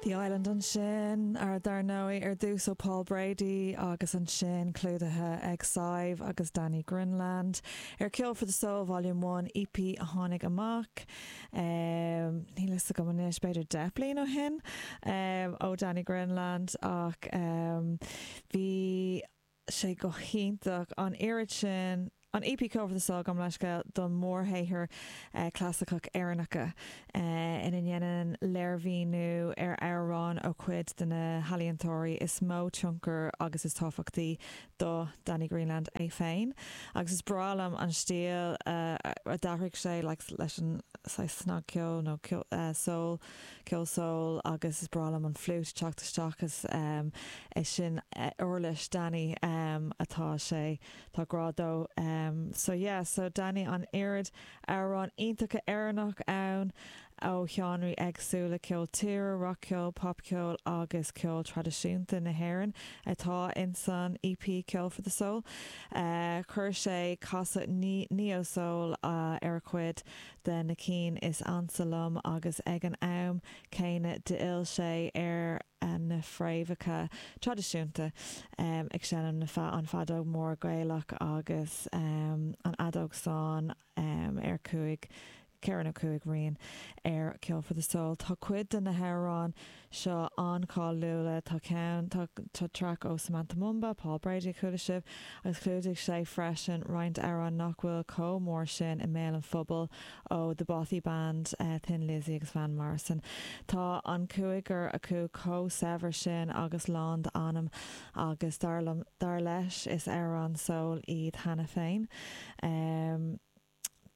The Island ansin, ar dar ndóigh, ar dtús ó Paul Brady agus ansin clúdaithe ag Sadhbh agus Danny Greenland ar Ceol for the Soul Volume One EP a tháinig amach, níl fhios agam anois, b'fhéidir 10 bliain ó shin, ó Danny Greenland ach bhí sé go hiontach an oiread sin an EP Ceol for the Soul, gabh mo leithscéal, don mhórshaothar clasaiceach Éireannacha ina ndéanann léirmhíniú ar amhráin ó chuid de na healaíontóirí is mó tionchar agus is tábhachtaí do Danny Greenland é féin. Agus is breá liom an stíl a d'athraigh sé like leis an saghas snagcheol nó soul, ceol soul agus is breá liom an fliúit ag teacht isteach is é sin uirlis Danny atá sé tá grá dó so yeah so Danny an oiread amhrán iontacha Éireannach ann ó sheánraí éagsúla ceol tíre, rac-cheol, popcheol agus ceol traidisiúnta na hÉireann atá ins an EP Ceol for the Soul. Chuir sé casadh neo soul ar chuid de na cinn is ansa liom agus ag an am céanna d'fhill sé ar na fréamhacha traidisiúnta, ag seinm na an feadóg mór Gaelach agus an fheadóg stáin ar chúig, 4 nó 5 rian ar Ceol for the Soul. Tá cuid de na hamhráin seo an-cháiliúla. Tá ceann, tá traic ó Samantha Mumba, Paul Brady a chuala sibh, agus chlúdaigh sé freisin roinnt amhrán nach bhfuil chomh mór sin i mbéal an phobail ó The Bothy Band, Thin Lizzy agus Van Morrison. Tá an cúigear acu chomh saibhir sin agus lán d'anam agus dar liom, dar leis, is amhráin soul iad cheana féin.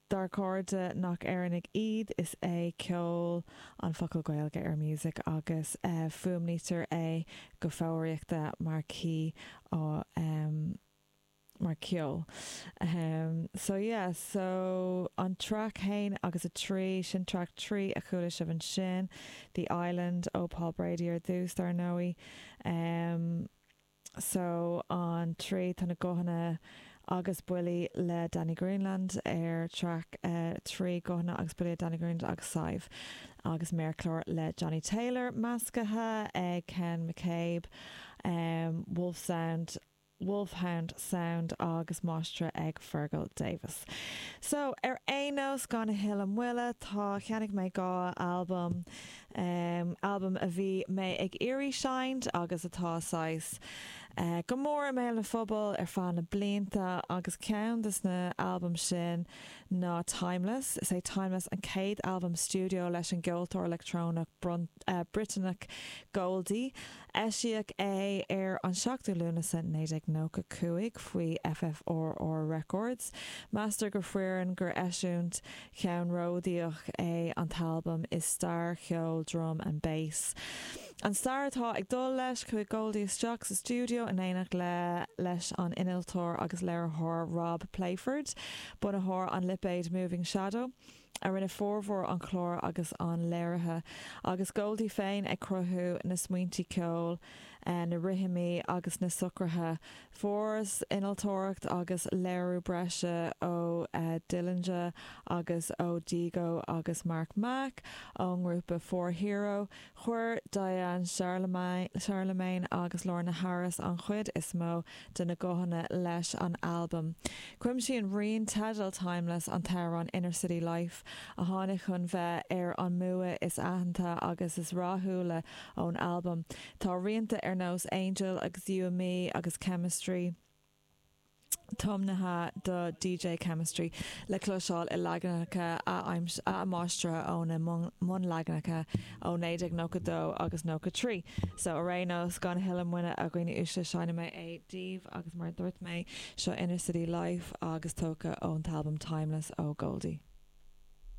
Dár gcairde nach Éireannaigh iad, is é ceol an focal Gaeilge ar music agus fuaimnítear é go foghraíochta mar c o mar ceol. So yeah, so an traic 1 agus 3, sin traic 3 a chuala sibh ansin, The Island ó Paul Brady ar dtús dar ndóigh. So an 3 tá na guthanna agus buillí le Danny Greenland ar traic 3 guthanna agus buillí le Danny Greenland agus Sadhbh agus méarchlár le Johnny Taylor measctha ag Ken McCabe, Wolf Sound, Wolfhound Sound agus máistreadh ag Fergal Davis. So ar aon nós gan a thuilleadh moille tá cheannaigh mé 2 albam albam a bhí mé ag iarraidh seinnt agus atá saghas go mór i mbéal na phobail ar feadh na blianta agus ceann des na albaim sin ná Timeless. Is é Timeless an chéad albam stiúideo leis an gceoltóir leictreonach Briotanach Goldie. Eisíodh é ar an 7ú Lúnasa 1995 faoi FFRR Records. Meastar go fírinneach gur eisiúint cheannródaíoch é an t-albam i stair cheol drum and bass. An stair atá ag dul leis, chuaigh Goldie isteach sa stiúideo in éineacht le leis an innealtóir agus léiritheoir Rob Playford, bunaitheoir an lipéid Moving Shadow, a rinne formhór an chláir agus an léirithe, agus Goldie féin ag cruthú na smaointe ceoil, na rithimí agus na socruithe. Fuarthas innealtóireacht agus léiriú breise ó Dillinja agus ó Dego agus Mark Mac ón ngrúpa 4hero. Chuir Diane Charlemagne agus Lorna Harris an chuid is mó de na guthanna leis an albam. Cuimsíonn rian teidil Timeless an t-amhrán Inner City Life, a tháinig chun bheith ar an mbua is aitheanta agus is rathúla ón albam. Tá rianta ar nós Angel agus You and Me agus Chemistry tiomnaithe do DJ Chemistry le cloisteáil i leaganacha athmháistrithe ó na mbunleaganacha ó 1992 agus 93. So ar aon nós, gan a thuilleadh moille a dhaoine uaisle, seinnfidh mé é daoibh agus mar a dúirt mé, seo Inner City Life agus tógtha ón t-albam Timeless ó Goldie.